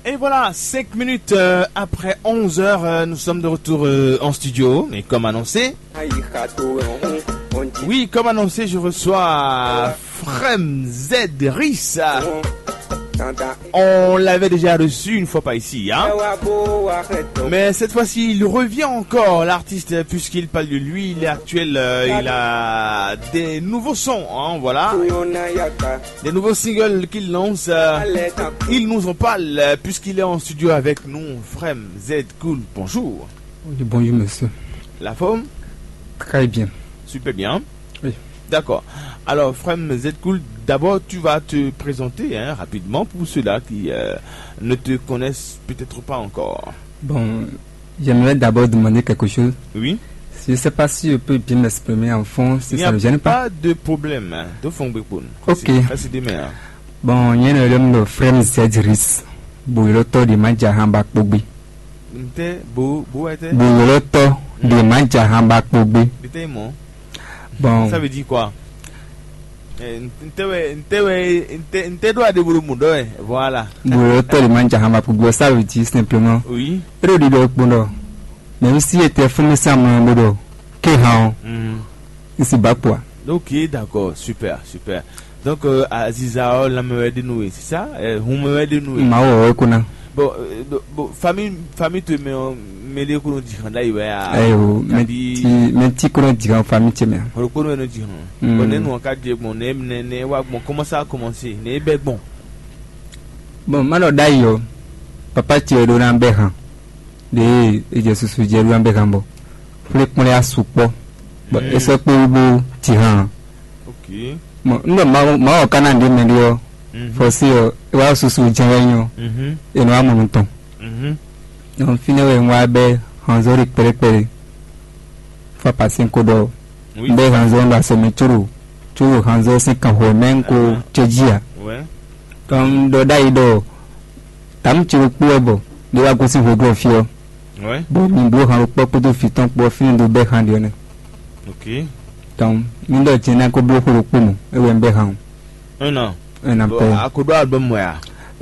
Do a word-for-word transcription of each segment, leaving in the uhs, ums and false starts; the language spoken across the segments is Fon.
Et voilà, cinq minutes euh, après onze heures, euh, nous sommes de retour euh, en studio. Et comme annoncé, oui, comme annoncé, je reçois Frem Z Ris. On l'avait déjà reçu une fois par ici, hein. Mais cette fois-ci, il revient encore, l'artiste, puisqu'il parle de lui, il est actuel, euh, il a des nouveaux sons, hein, voilà. Des nouveaux singles qu'il lance, euh, il nous en parle, euh, puisqu'il est en studio avec nous. Frem Z Cool, bonjour. Oui, bonjour, monsieur. La forme? Très bien. Super bien. Oui. D'accord. Alors, Frem Z Cool, d'abord, tu vas te présenter, hein, rapidement pour ceux-là qui euh, ne te connaissent peut-être pas encore. Bon, j'aimerais d'abord demander quelque chose. Oui. Je ne sais pas si je peux bien m'exprimer en fond, si Il n'y ça a ne gêne pas. pas de problème, hein. De fond, Bepon. Ok. C'est c'est demain, hein. Bon, nyɛ nɔ yɔm ɖɔ Frem Z Ris, buyɔlɔtɔ ɖe ma ja han ba kpogbe. Nte, bo, bo, ete. Buyɔlɔtɔ ɖe ma ja han ba kpogbe. Bete, mo. Bon, Ça veut dire quoi? Eh, nte, ouais, nte, ouais, nte, nte doit débrouiller mon doigt, voilà. Buyɔlɔtɔ ɖe ma ja han ba kpogbe, ça veut dire simplement. Oui. Eɖo ɖiɖɔ kpɔn ɖɔ, même si était fún mi sa mɔ bó ɖɔ, ke han ɔ, Mhm. n si ba kpɔa. Ok, d'accord, super, super. Donc, euh, Aziza, oh, la meilleure de nous, c'est ça? Euh, vous meilleure de nous. Ma wɔ wɛ ko na. Bon, euh, bon, bon, famille, famille, tu mets, mets les cours du Randa, il va. Ayo, Kabi, mɛ ti kɔnɔ jigan fami cɛ mɛ. Le cours, nous disons. Mm. Bon, nous, on a dit, bon, ne, ne, ne, wa, bon, comment ça a commencé? Ne, ben, bon. Bon, ma ɖɔ ɖ'ayǐ ɔ, papa ce ɖó ná bɛ hàn. Ɖe e jɛ susu jɛ ɖó ná bɛ hàn bɔ. Xwlé kplɔ́n ya sukpɔ. Bɔ Mm. é sɔ́ kpé wú bó ti hàn. Ok. Mɔ n ɖɔ Mawu Mawu ɔ́ ka ná ɖě mɛ ɖé ɔ́, Mhm. fɔ́sí ɔ, é wá susu jɛ́n wɛ nyí ɔ́, Mhm. é nɔ wá mɔ nǔ tɔn. Mhm. Donc fínɛ́ wɛ un wá bɛ́ hanzɔ́ ɖi kpɛɖékpɛɖé. Fá pasé ko ɖɔ Oui. un bɛ́ hanzɔ́ ɖo asɔ mɛ có ɖo có ɖo hanzɔ́ sín kanxɔ mɛ un ko Ah. cɛ́ jí ǎ. Ouais. Donc un ɖɔ ɖ'ayǐ ɖɔ tǎmu ce ɖokpó wɛ bɔ ɖé wá gosín hweglɔ́ fí ɔ́. Ouais. Bon, mi bló han ɖokpó kpódó vǐ tɔn kpó ɔ́ fínɛ́ un dó bɛ́ han ɖě ɔ́ nɛ́. Ok. Donc mi ɖɔ jɛ́n ná ko bló xó ɖokpó mɔ, é wɛ un bɛ́ han o. Un an. Un an Bon, pɛ. a ko ɖó album wɛ a?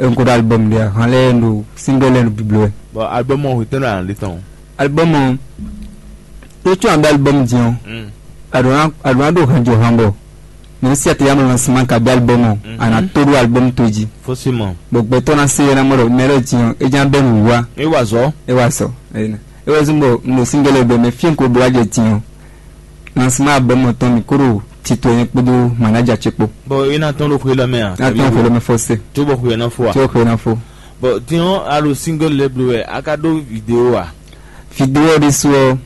Un ko ɖó album ɖě a, han lɛ́ɛ ɖo single lɛ́ɛ ɖo biblo wɛ. Bon, album ɔ́ hwetɛ́nú a nɔ ɖe tɔn? Album ɔ́, tó có an bɛ́ album din ɔ́, Mm. a ɖǒ ná a ɖǒ ná ɖo han jɔ han bɔ mɛ si a te ya mɔ lancement ka bɛ́ album ɔ́, a nǎ Mhm. tó ɖó album tó jí. Forcément. Bɔ gbɛtɔ́ ná se yɛ ná mɔ ɖɔ mɛ lɛ́ɛ din ɔ́, é ján bɛ́ nǔwiwa. E wa zɔ. É wá sɔ. É wá zɔ́n bɔ un ɖo single lɛ́ɛ bɔ mɛ fí e un ko bló wá jɛ din ɔ́, lancement album ɔ́ tɔn mì kó ɖo tito nyɛ kpódó manager ce kpó. Bon, e na tɔn ɖo xwe lɔ mɛ a? Ná tɔn xwe lɔ mɛ forcé. Tó bɔ xwe na fo a? Tó xwe ná fo. Bon, tiɲɔ a ɖo single lɛ́ɛ bló wɛ, a ka ɖó vidéo a? Vidéo ɖé su ɔ́,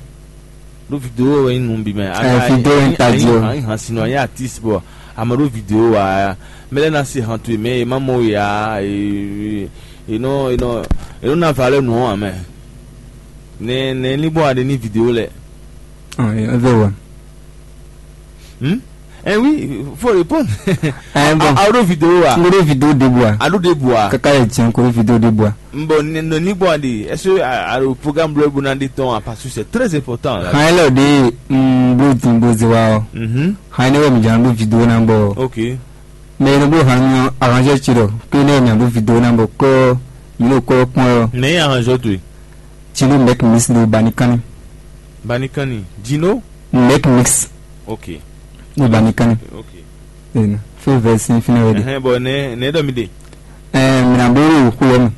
Ɖó vidéo wɛ nyí nu bi mɛ. Eh, vidéo wɛ nyí ta jí ɔ. Ayi han sinɔ, ayi artiste bɔ ame ɖó vidéo wa. Mɛ lɛ na se han towe mɛ, e ma mɔ ya, e e nɔ e nɔ e nɔ na valeur nɔ amɛ. Ne ne ni bɔ a ɖe ni vidéo lɛ. Ɔn, é vɛ wa. Hmm? Eh oui, faut répondre. Eh, bon. A a ɖo vidéo wa? N ko ɖo vidéo ɖěbǔ a? A ɖo ɖe bua? Kaka yɛ jɛn ko ɖo vidéo ɖěbǔ a? Bon, ne ne ni bɔ a ɖe. Est-ce que a a ɖo programme bleu bona de temps à parce que c'est très important là. Han yɛ lɛ ɖe n blo din bo ze wa ɔ. Mhm. Han yɛ ne wɛ mi jan ɖo vidéo na bɔ. Ok. Mais ne blo han mi arrangé ci ɖɔ. Ke ne wɛ mi jan ɖo vidéo na bɔ kɔ mi ɖo kɔ kpɔn ɔ. Ne arrangé toi. Ci ɖo mɛk mis ɖo bani kanni. Banikani. Dino? Mɛk mix Ok. ɖo bani kanni. Ok. Ena. Fé vɛ sin fínɛ wɛ de. Ɛhɛn, bon, ne ne dɔ mi de. Ɛɛ mina blo ɖo xu yɛ mɛ.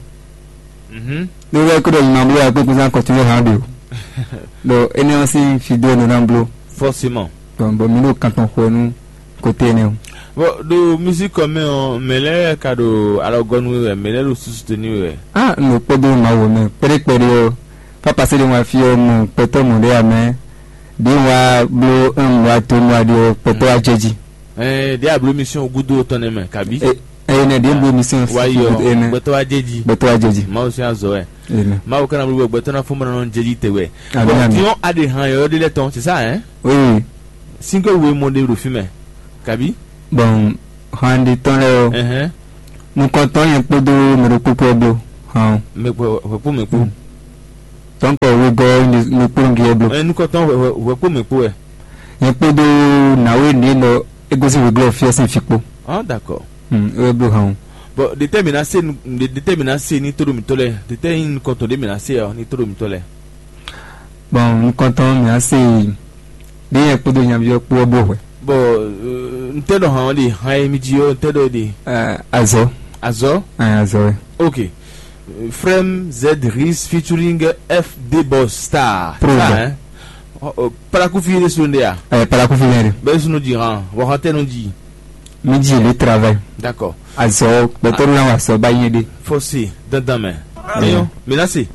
Mhm. Ɖo wɛ ko ɖɔ nyina blo ya kpekpe zan kɔtun yɛ han ɖo. Ɖo ene ɔ sin fi do nɔ na blo. Forcément. Bon bon mi ɖo kantɔn xɔ nu kote ene o. Bon, ɖo musique kɔ mɛ ɔ, mɛ lɛ ka ɖo alɔgɔnu wɛ, mɛ lɛ ɖo susu teni wɛ. Ah n ɖo kpɔdo ma wo mɛ kpɛɖekpɛɖe ɔ. Fa pase ɖe wa fi ɔ mɔ kpɛtɔ mɔ ɖe ya mɛ. Ɖe wa blo un wa to mɔ aɖe ɔ kpɛtɔ wa jɛ ji. Ɛɛ, ɖe ablo mission gudo tɔn ne mɛ kabi. E eye ne ɖe blo mission Wa yi ɔ, ene. Gbɛtɔ wa jɛ ji. Gbɛtɔ wa jɛ ji. Mawu si azɔ wɛ. Ene. Mawu kana blo gbɛtɔ na fɔmɔ na jɛ ji te wɛ. Ami Bon, ami. Dion a ɖe han yɔ ɖe lɛ tɔn, c'est ça hein? Oui. Single wo mɔ ɖe ɖo fi mɛ. Kabi. Bon han ɖe tɔn lɛ ɔ. Ɛhɛn. Nukɔntɔn yɛn kpódó mɛ ɖokpó kpó blo. Han. Mɛ kpɔ, hwɛ kpɔ mɛ kpɔ. Tɔn kɔ wegɔ nukpó ngi blo. Ɛ nukɔntɔn hwɛ hwɛ hwɛ kpɔ mɛ kpɔ wɛ. Yɛn kpódó nawe ne nɔ egosi wegɔ fiɔ sin fi kpó. Ah d'accord. Hmm, e blo han. Bɔn ɖetɛ́ mǐ ná se nu- ɖe- ɖetɛ́ mǐ ná se ní tóɖo mǐtɔn lɛ́ɛ? Ɖetɛ́ nyí nukɔntɔn ɖé mǐ ná se ɔ́ ní tóɖo mǐtɔn lɛ́ɛ? Bɔn nukɔntɔn mǐ ná se ɖé nyɛ kpódó nyaví ɔ́ kpó ɔ́ bó hwɛ. Bɔn ntɛ́ ɖɔ hǎn ɔ́ ɖe? Hǎn e mi ji ɔ́, ntɛ́ ɖɔ é ɖe? Azɔ. Azɔ. Azɔ wɛ. Ok. Frem Z Ris featuring F D Boss Star. Pro. Star, hein? Parakufi ɖésú ɖe a? Parakufi lɛ ɖe. Bɛ́ sunu ji hàn, wɔ hàn tɛnu ji. Mi ji le travail. D'accord. Azɔ gbɛtɔ la wa sɔ ba yɛ ɖe. Fɔsi dandan mɛ. Eyɔn, mi na se.